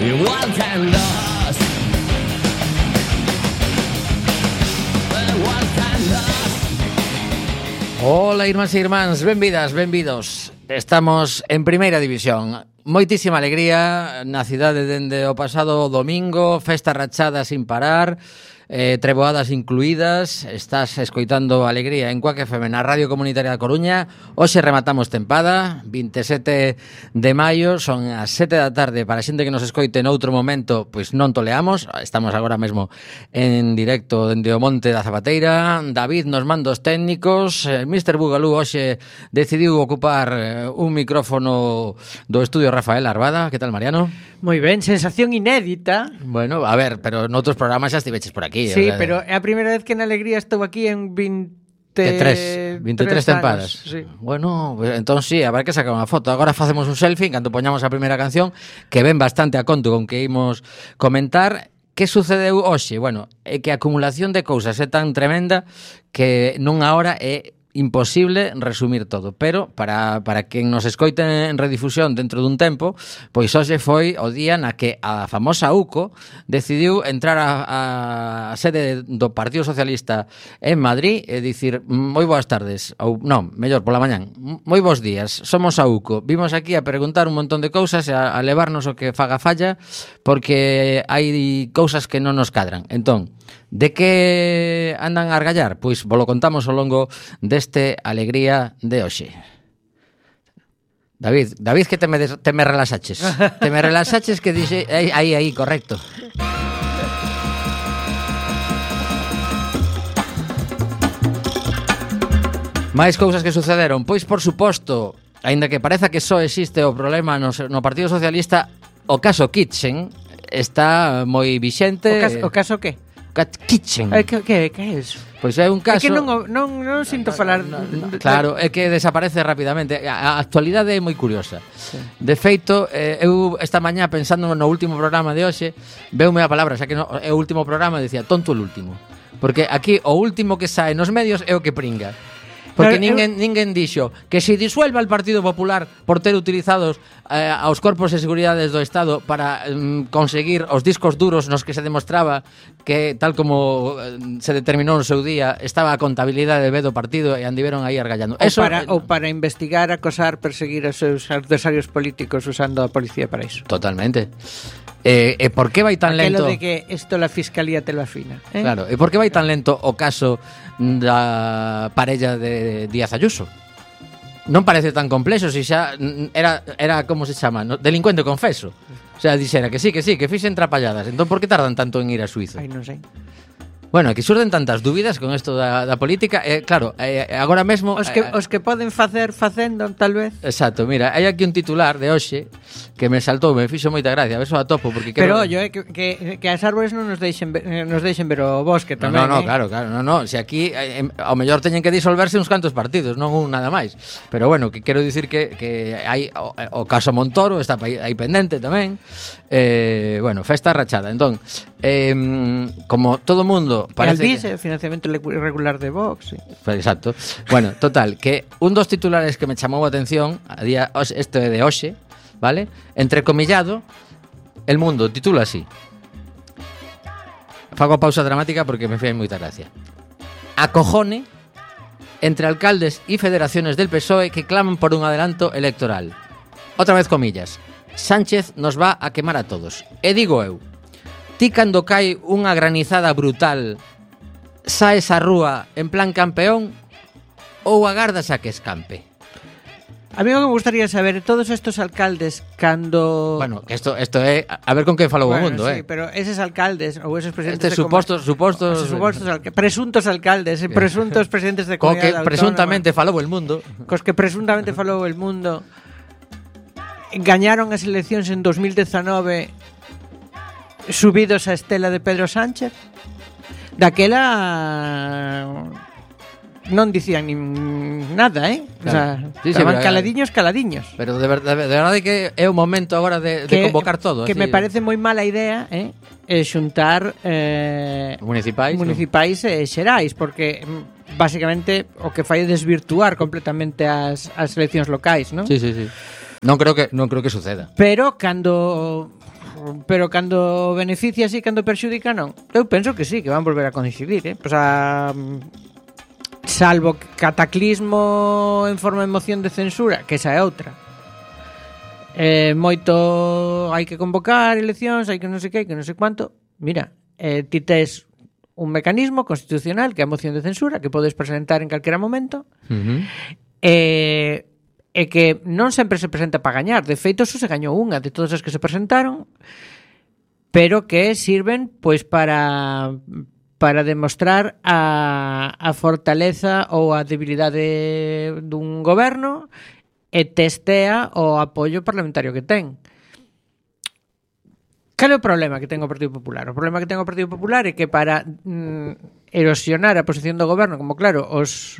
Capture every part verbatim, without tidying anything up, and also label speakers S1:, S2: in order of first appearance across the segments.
S1: igual que nós, igual que nós.
S2: Ola, irmáns e irmáns, benvidas, benvidos. Estamos en Primeira División. Moitísima alegría na cidade dende o pasado domingo, festa rachada sin parar, eh, treboadas incluídas. Estás escoitando Alegría en Cuac F M na Radio Comunitaria da Coruña. Hoxe rematamos tempada, vinte e sete de maio, son as sete da tarde. Para a xente que nos escoite noutro momento, pois non toleamos. Estamos agora mesmo en directo dende o Monte da Zapateira. David nos mandos técnicos. mister Bugalú hoxe decidiu ocupar un micrófono do estudio Rafael Arbada. Que tal, Mariano?
S3: Moi ben, sensación inédita.
S2: Bueno, a ver, pero noutros programas xa estiveches por aquí.
S3: Sí,
S2: o sea,
S3: pero é a primeira vez que na Alegría estou aquí en vinte
S2: vinte e tres tempadas.
S3: Sí.
S2: Bueno, pues, entón sí, habrá que sacar unha foto. Agora facemos un selfie cando poñamos a primeira canción, que ven bastante a conto con que imos comentar. Que sucedeu hoxe? Bueno, é que a acumulación de cousas é tan tremenda que nunha hora é imposible resumir todo, pero para, para quen nos escoite en redifusión dentro dun tempo, pois hoxe foi o día na que a famosa U C O decidiu entrar a, a sede do Partido Socialista en Madrid e dicir: moi boas tardes, ou non, mellor pola mañán, moi bons días, somos a U C O, vimos aquí a preguntar un montón de cousas e a, a levarnos o que faga falla, porque hai cousas que non nos cadran. Entón, de que andan a argallar? Pois vos lo contamos ao longo deste Alegría de hoxe. David, David, que te me, des, te me relaxaches. Te me relaxaches que dixe... Aí, aí, aí, correcto. Mais cousas que sucederon? Pois, por suposto, aínda que pareza que só existe o problema no, no Partido Socialista, o caso Kitchen está moi vixente.
S3: O caso, o caso que?
S2: Kitchen.
S3: Eh, que, que, que é iso?
S2: Pois é un caso...
S3: É que non, non, non sinto falar...
S2: No, no, no, claro, é que desaparece rapidamente. A actualidade é moi curiosa. Sí. De feito, eh, eu esta mañá pensando no último programa de hoxe, veume a palabra, xa que no, é o último programa, dicía, tonto o último. Porque aquí o último que sae nos medios é o que pringa. Porque
S3: Pero,
S2: ninguén, eu... ninguén dixo que se disuelva el Partido Popular por ter utilizados eh, aos corpos de seguridades do Estado para eh, conseguir os discos duros nos que se demostraba que, tal como eh, se determinou no seu día, estaba a contabilidade B do partido e andiveron aí argallando.
S3: Ou,
S2: Eso,
S3: para, ou para investigar, acosar, perseguir os seus adversarios políticos usando a policía para iso.
S2: Totalmente. E eh, eh, por que vai tan lento?
S3: Aquelo de que isto la fiscalía te lo afina, eh?
S2: Claro, e por que vai tan lento o caso da parella de Díaz Ayuso? Non parece tan complexo, se xa era era como se chama, no? Delincuente confeso. O sea, dixera que sí, que sí, que fixen trapalladas. Entón por que tardan tanto en ir a Suiza?
S3: Ai, non sei.
S2: Bueno, que surden tantas dúbidas con isto da, da política. eh, Claro, eh, agora mesmo
S3: Os que,
S2: eh,
S3: os que poden facer facendo, tal vez.
S2: Exacto, mira, hai aquí un titular de hoxe que me saltou, me fixo moita gracia. A ver se o atopo, porque
S3: Pero,
S2: creo...
S3: ollo, eh, que, que, que as árbores non nos deixen ver, nos deixen ver o bosque
S2: No,
S3: tamén,
S2: no, no,
S3: eh?
S2: claro, claro, no, no. Se aquí eh, ao mellor teñen que disolverse uns cantos partidos, non un nada máis. Pero bueno, que quero dicir que, que hai o, o caso Montoro está aí pendente tamén. Eh, bueno, festa rachada. Entón, eh, como todo mundo parece
S3: Alvís,
S2: que...
S3: eh, financiamento irregular de Vox, sí.
S2: Exacto. Bueno, total, que un dos titulares que me chamou a atención a día este de hoxe, vale? Entrecomillado, El Mundo titula así. Fago a pausa dramática porque me fai moita gracia. Acojone entre alcaldes y federaciones del P S O E que claman por un adelanto electoral. Otra vez comillas. Sánchez nos va a quemar a todos. E digo eu, ti cando cae unha granizada brutal, saes á rúa en plan campeón ou agardas a que escampe?
S3: A mí o que me gustaría saber, todos estos alcaldes cando...
S2: Bueno, que esto esto é a ver con que falou
S3: bueno,
S2: o mundo,
S3: sí,
S2: eh.
S3: pero eses alcaldes ou eses presidentes
S2: Estes
S3: de
S2: supostos supostos
S3: Os supostos alca... presuntos alcaldes, e presuntos presidentes de
S2: co que
S3: comunidade
S2: presuntamente falou el mundo.
S3: Cos que presuntamente falou el mundo gañaron as eleccións en dos mil dezanove subidos a estela de Pedro Sánchez. Daquela non dicían nin nada, eh? Claro. O sea,
S2: sí, sí,
S3: estaban
S2: pero,
S3: caladiños, caladiños.
S2: Pero de verdade, de verdade que é o momento agora de, de convocar todo.
S3: Que
S2: así,
S3: me parece moi mala idea, eh? É xuntar eh,
S2: municipais,
S3: municipais
S2: no?
S3: e xerais, porque basicamente o que fai é desvirtuar completamente as, as eleccións locais, non?
S2: Sí, sí, sí. Non creo que non creo que suceda.
S3: Pero cando pero cando beneficia sí, cando perxudica non. Eu penso que sí, que van volver a coincidir, eh? Pois a salvo cataclismo en forma de moción de censura, que esa é outra. Eh, moito hai que convocar eleccións, hai que non sei que, que non sei cuánto. Mira, eh, ti tes un mecanismo constitucional que é a moción de censura que podes presentar en calquera momento.
S2: Uh-huh.
S3: E e que non sempre se presenta para gañar. De feito, só se gañou unha de todas as que se presentaron, pero que sirven pois para para demostrar a, a fortaleza ou a debilidade dun goberno e testea o apoio parlamentario que ten. Cal é o problema que ten o Partido Popular? O problema que ten o Partido Popular é que para mm, erosionar a posición do goberno, como claro, os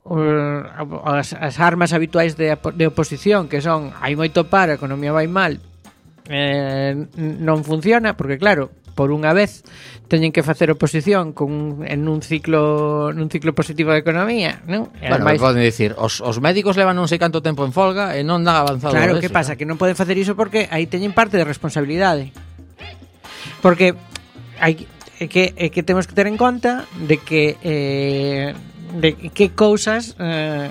S3: As, as armas habituais de, de oposición, que son hai moito paro, a economía vai mal, eh, non funciona, porque claro, por unha vez teñen que facer oposición con, en un ciclo nun ciclo positivo de economía, non? E
S2: Bueno,
S3: ademais,
S2: poden dicir, os, os médicos levan non sei canto tempo en folga e non dan avanzado.
S3: claro,
S2: eso,
S3: que pasa?
S2: ¿no?
S3: Que non poden facer iso porque aí teñen parte de responsabilidade. Porque hai é que, é que temos que ter en conta de que eh, de que cousas eh,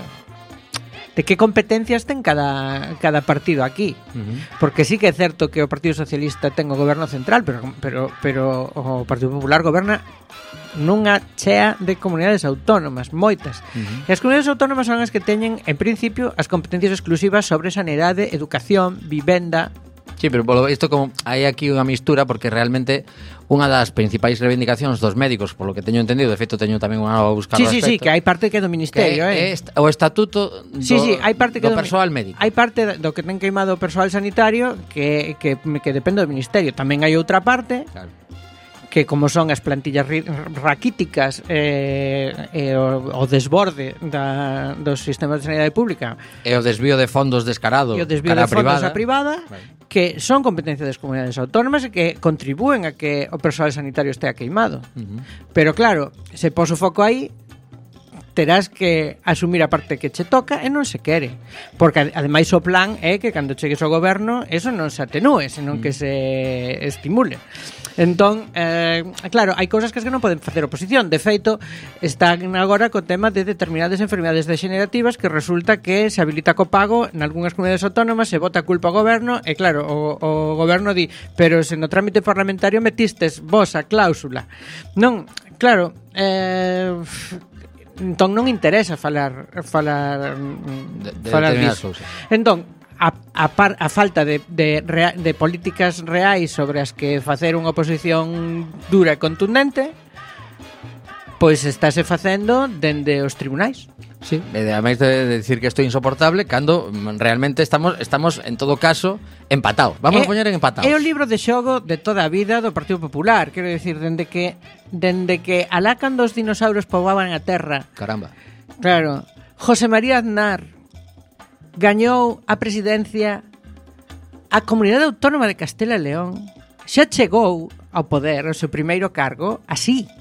S3: de que competencias ten cada, cada partido aquí.
S2: Uh-huh.
S3: Porque sí que é certo que o Partido Socialista ten o goberno central, pero, pero, pero o Partido Popular goberna nunha chea de comunidades autónomas, moitas.
S2: Uh-huh.
S3: E as comunidades autónomas son as que teñen, en principio, as competencias exclusivas sobre sanidade, educación, vivenda.
S2: Sí, pero polo isto como hai aquí unha mistura porque realmente unha das principais reivindicacións dos médicos, polo que teño entendido, de feito teño tamén unha nova buscar
S3: Sí,
S2: ao
S3: sí, sí,
S2: respecto,
S3: que hai parte que é do ministerio,
S2: que
S3: eh.
S2: é est- o estatuto do,
S3: Sí, sí, hai parte que
S2: do
S3: do
S2: persoal médico.
S3: Hai parte do que ten queimado o persoal sanitario que, que, que depende do ministerio. Tamén hai outra parte
S2: Claro.
S3: que como son as plantillas ri- raquíticas eh, e o, o desborde da, dos sistemas de sanidade pública
S2: E o desvío de fondos descarado
S3: e o desvío
S2: cara
S3: de fondos
S2: privada.
S3: a privada,
S2: Vale.
S3: que son competencia das comunidades autónomas e que contribúen a que o persoal sanitario estea queimado.
S2: Uh-huh.
S3: Pero claro, se pos o foco aí, terás que asumir a parte que che toca e non se quere. Porque ademais o plan é que cando chegues ao goberno eso non se atenúe, senón que se estimule. Entón, eh, claro, hai cousas que as que non poden facer oposición. De feito, están agora co tema de determinadas enfermidades degenerativas que resulta que se habilita co pago en algunhas comunidades autónomas, se bota a culpa ao goberno e claro, o, o goberno di, pero se no trámite parlamentario metistes vos a cláusula. Non, claro, eh, entón non interesa falar falar
S2: De- de
S3: falar
S2: determinadas
S3: disso.
S2: cousas.
S3: Entón, a, a, par, a falta de, de, rea, de políticas reais sobre as que facer unha oposición dura e contundente, pois estáse facendo dende os tribunais.
S2: Sí, e ademais de decir que isto é insoportable cando mm, realmente estamos estamos en todo caso empatados. Vamos
S3: É-
S2: a poñer en empatados.
S3: É o libro de xogo de toda a vida do Partido Popular, quero decir, dende que dende que alá cando os dinosaurios poboaban a terra.
S2: Caramba.
S3: Claro, José María Aznar gañou a presidencia a Comunidade Autónoma de Castela e León. Xa chegou ao poder, ao seu primeiro cargo, así,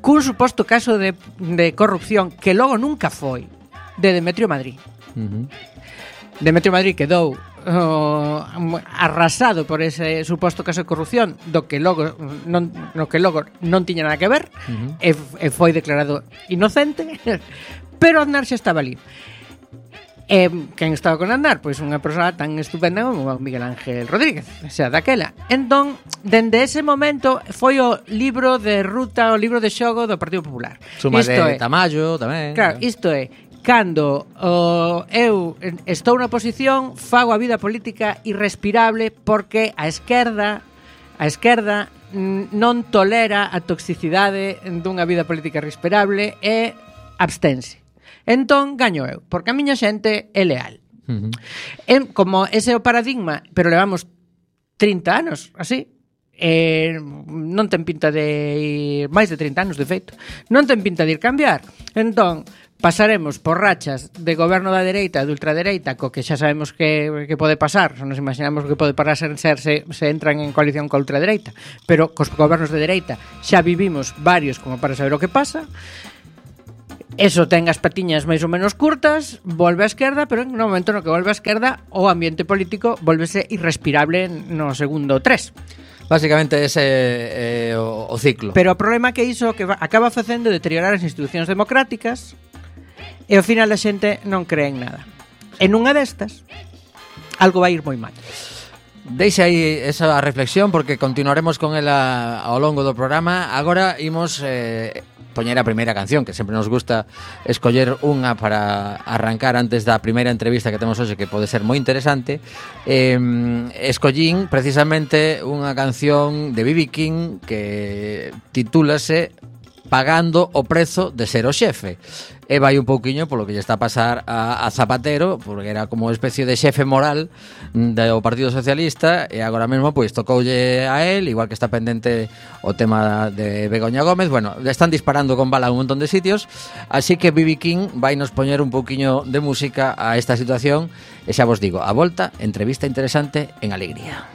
S3: cun suposto caso de, de corrupción que logo nunca foi, de Demetrio Madrid.
S2: Uh-huh.
S3: Demetrio Madrid quedou oh, arrasado por ese suposto caso de corrupción do que logo non, no que logo non tiña nada que ver,
S2: Uh-huh.
S3: e, e foi declarado inocente, pero Aznar xa estaba ali. E quen estaba con Aznar? Pois unha persoa tan estupenda como Miguel Ángel Rodríguez, o sea, daquela. Entón, dende ese momento foi o libro de ruta, o libro de xogo do Partido Popular.
S2: Suma
S3: Isto
S2: de
S3: é,
S2: Tamayo tamén.
S3: claro, isto é, cando o, eu estou na oposición, fago a vida política irrespirable porque a esquerda a esquerda mm, non tolera a toxicidade dunha vida política irrespirable e abstense. Entón, gaño eu, porque a miña xente é leal.
S2: Uh-huh.
S3: E, como ese é o paradigma, pero levamos trinta anos, así, eh, non ten pinta de ir, máis de trinta anos, de feito, non ten pinta de ir cambiar. Entón, pasaremos por rachas de goberno da dereita e de ultradereita, co que xa sabemos que, que pode pasar, xa nos imaginamos que pode pasar ser, se, se entran en coalición coa ultradereita, pero cos gobernos de dereita xa vivimos varios como para saber o que pasa. Eso ten as patiñas máis ou menos curtas, volve á esquerda, pero no momento no que volve á esquerda o ambiente político volvese irrespirable no segundo tres.
S2: Básicamente ese é eh, o, o ciclo.
S3: Pero o problema que iso que va, acaba facendo deteriorar as institucións democráticas e ao final a xente non cree en nada. En unha destas, algo vai ir moi mal.
S2: Deixa aí esa reflexión porque continuaremos con ela ao longo do programa. Agora imos eh, poñer a primeira canción, que sempre nos gusta escoller unha para arrancar antes da primeira entrevista que temos hoxe, que pode ser moi interesante. Eh, escollín precisamente unha canción de B B King que titúlase Pagando o prezo de ser o xefe. E vai un pouquiño polo que lle está a pasar a, a Zapatero, porque era como especie de xefe moral do Partido Socialista, e agora mesmo pois tocoulle a él, igual que está pendente o tema de Begoña Gómez. Bueno, le están disparando con bala a un montón de sitios, así que B B King vai nos poñer un pouquiño de música a esta situación, e xa vos digo, a volta, entrevista interesante en Alegría.